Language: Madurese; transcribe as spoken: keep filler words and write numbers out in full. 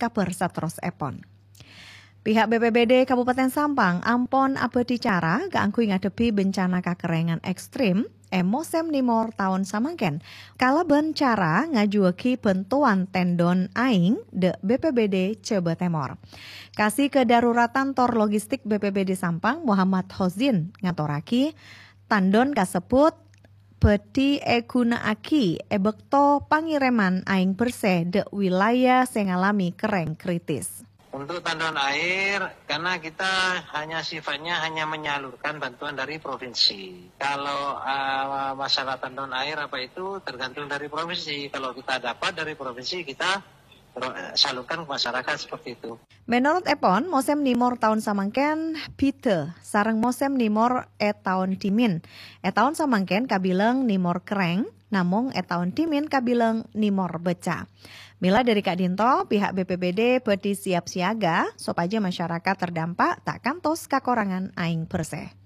kabhâr saterrossèpon. Pihak B P B D Kabupaten Sampang ampon abâdhi cara kaangghuy ngadhebbhi bencana kakerrèngan ekstrem è mosèm nèmor taon samangkèn, kalabân cara ngajuwâghi bhântowan tendon aèng dâ' B P B D Jhâbâ Tèmor. Kasi Kedaruratan Tor Logistik B P B D Sampang, Muhammad Hozin, ngatorraghi, tendon kasebbhut bhâdhi èghuna'aghi è bâkto pangèrèman aèng bersè dâ' wilayah sè ngalamè kerrèng kritis. Untuk tandon air, karena kita hanya sifatnya hanya menyalurkan bantuan dari provinsi. Kalau uh, masalah tandon air apa itu tergantung dari provinsi. Kalau kita dapat dari provinsi, kita ro- salurkan ke masyarakat seperti itu. Menurut èpon, mosèm nèmor taon samangkèn bhidhâ sareng mosèm nèmor è taon dhimèn. È taon samangkèn kabilang nèmor kerrèng, namong è taon dhimèn kabilang nèmor becca. Mèla dâri ka'dinto, pihak B P B D bhâdhi siap siaga sopajâ masyarakat terdampak ta' kantos kakorangan aèng bersè.